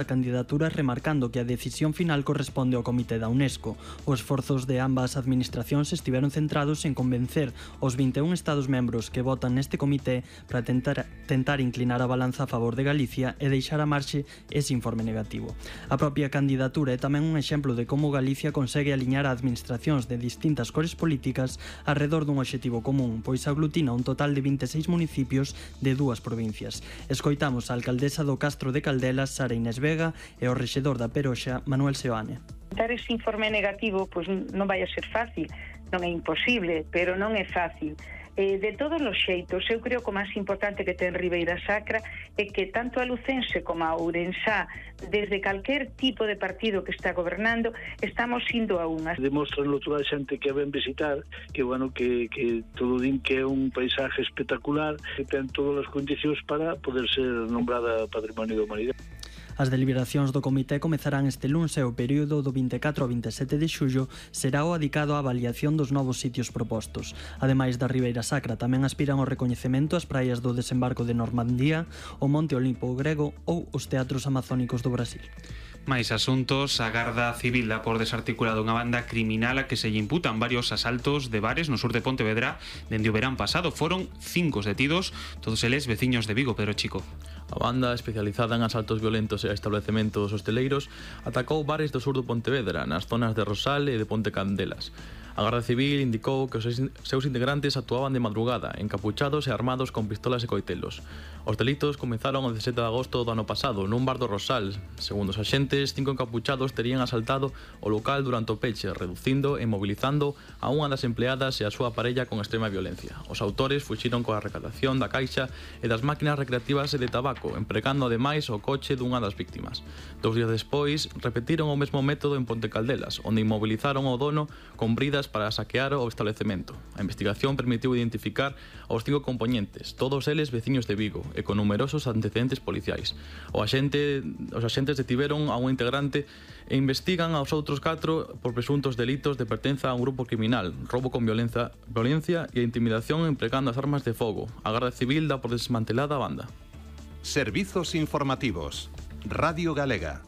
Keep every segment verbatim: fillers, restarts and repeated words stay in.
a candidatura remarcando que a decisión final corresponde ao Comité da UNESCO. Os esforzos de ambas administracións estiveron centrados en convencer os vinte e un Estados membros que votan neste comité para tentar, tentar inclinar a balanza a favor de Galicia e deixar a marxe ese informe negativo. A propia candidatura é tamén un exemplo de como Galicia consegue aliñar a administracións de distintas cores políticas alrededor dun obxectivo común, pois aglutina un total de vinte e seis municipios de dúas provincias. Escoitamos a alcaldesa do Castro de Caldelas, Sara Inés Vega, e o rexedor da Peroxa, Manuel Seoane. Dar ese informe negativo pois non vai a ser fácil, non é imposible, pero non é fácil. Eh, de todos os xeitos, eu creo que o máis importante que ten Ribeira Sacra é que tanto a lucense como a ourensá, desde calquer tipo de partido que está gobernando, estamos indo a unhas. Demostranlo toda a xente que a ven visitar, que bueno, que, que todo din que é un paisaje espectacular, que ten todas as condicións para poder ser nombrada Patrimonio da Humanidade. As deliberacións do comité comezarán este luns e o período do vinte e catro ao vinte e sete de xullo será o adicado á avaliación dos novos sitios propostos. Ademais da Ribeira Sacra, tamén aspiran ao recoñecemento as praias do desembarco de Normandía, o Monte Olimpo grego ou os teatros amazónicos do Brasil. Máis asuntos, a Garda Civil dá por desarticulado unha banda criminal a que se lle imputan varios asaltos de bares no sur de Pontevedra dende o verán pasado. Foron cinco detidos, todos eles veciños de Vigo, Pedro Chico. A banda, especializada en asaltos violentos e establecementos hosteleiros, atacou bares do sur do Pontevedra, nas zonas de Rosal e de Ponte Candelas. A Garda Civil indicou que os seus integrantes actuaban de madrugada, encapuchados e armados con pistolas e coitelos. Os delitos comenzaron o dezasete de agosto do ano pasado, nun bar do Rosal. Segundo os axentes, cinco encapuchados terían asaltado o local durante o peche, reducindo e mobilizando a unha das empleadas e a súa parella con extrema violencia. Os autores fuxiron coa recadación da caixa e das máquinas recreativas e de tabaco, empregando ademais o coche dunha das víctimas. Dous días despois, repetiron o mesmo método en Ponte Caldelas, onde inmovilizaron o dono con bridas para saquear o establecemento. A investigación permitiu identificar aos cinco componentes, todos eles veciños de Vigo e con numerosos antecedentes policiais. O axente, os axentes detiveron a un integrante e investigan aos outros catro por presuntos delitos de pertenza a un grupo criminal, roubo con violencia, violencia e intimidación empregando as armas de fogo. A Garda Civil dá por desmantelada a banda. Servizos informativos. Radio Galega.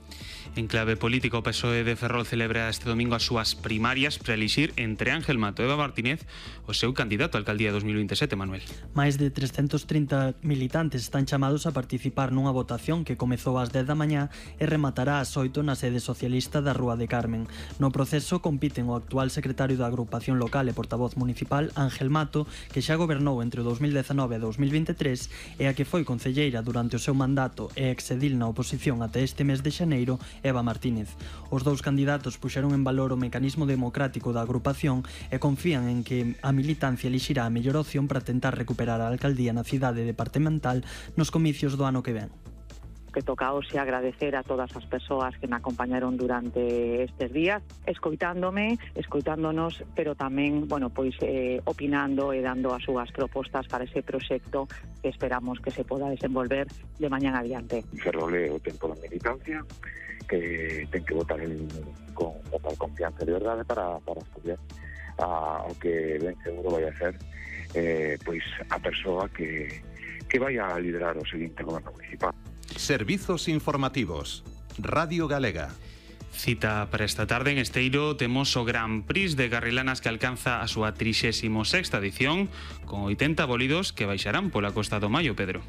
En clave política, o P S O E de Ferrol celebra este domingo as súas primarias para elixir entre Ángel Mato e Eva Martínez o seu candidato a alcaldía dos mil vinte e sete, Manuel. Mais de trescentos trinta militantes están chamados a participar nunha votación que comezou ás dez da mañá e rematará ás oito na sede socialista da Rúa de Carmen. No proceso compiten o actual secretario da agrupación local e portavoz municipal, Ángel Mato, que xa gobernou entre o dos mil dezanove e dos mil vinte e tres, e a que foi concelleira durante o seu mandato e exedil na oposición até este mes de xaneiro, Eva Martínez. Os dous candidatos puxeron en valor o mecanismo democrático da agrupación e confían en que a militancia elixirá a mellor opción para tentar recuperar a alcaldía na cidade departamental nos comicios do ano que ven. Que tocaose agradecer a todas as persoas que me acompañaron durante estes días, escoitándome, escoitándonos, pero tamén, bueno, pois eh, opinando e dando as súas propostas para ese proxecto que esperamos que se poda desenvolver de mañán adiante. Ferrol é o tempo da militancia, que ten que votar el, con total confianza de verdade para, para estudiar a, o que ben seguro vai a ser eh, pois a persoa que, que vai a liderar o seguinte goberno municipal. Servizos informativos. Radio Galega. Cita para esta tarde en Esteiro temos o Gran Prix de Garrilanas que alcanza a súa trixésima sexta edición con oitenta bólidos que baixarán pola Costa do Maio, Pedro.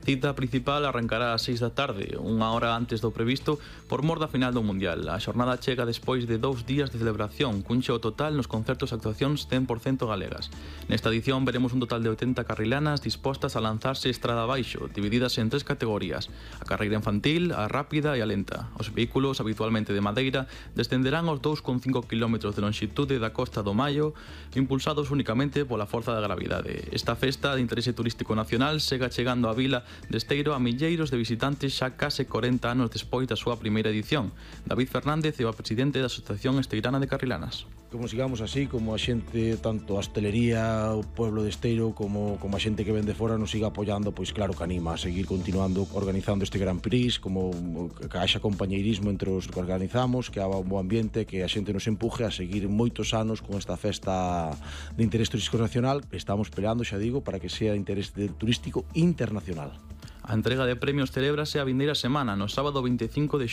cita principal arrancará ás seis da tarde, unha hora antes do previsto, por mor da final do Mundial. A xornada chega despois de dous días de celebración, cun cheo total nos concertos e actuacións cen por cento galegas. Nesta edición veremos un total de oitenta carrilanas dispostas a lanzarse estrada abaixo, divididas en tres categorías: a carreira infantil, a rápida e a lenta. Os vehículos, habitualmente de madeira, descenderán aos dous coma cinco kilómetros de lonxitude da Costa do Maio, impulsados únicamente pola forza da gravidade. Esta festa de interese turístico nacional segue chegando á vila de Esteiro a milleiros de visitantes xa case corenta anos despois da súa primeira edición. David Fernández é o presidente da Asociación Esteirana de Carrilanas. Como sigamos así, como a xente, tanto a hostelería, o pueblo de Esteiro, como, como a xente que ven de fora nos siga apoiando, pois claro que anima a seguir continuando organizando este Gran Prix, como que haxa compañeirismo entre os que organizamos, que haxa un bo ambiente, que a xente nos empuje a seguir moitos anos con esta festa de interés turístico nacional. Estamos peleando, xa digo, para que sea de interés turístico internacional. A entrega de premios celébrase a vindeira semana, no sábado veinticinco de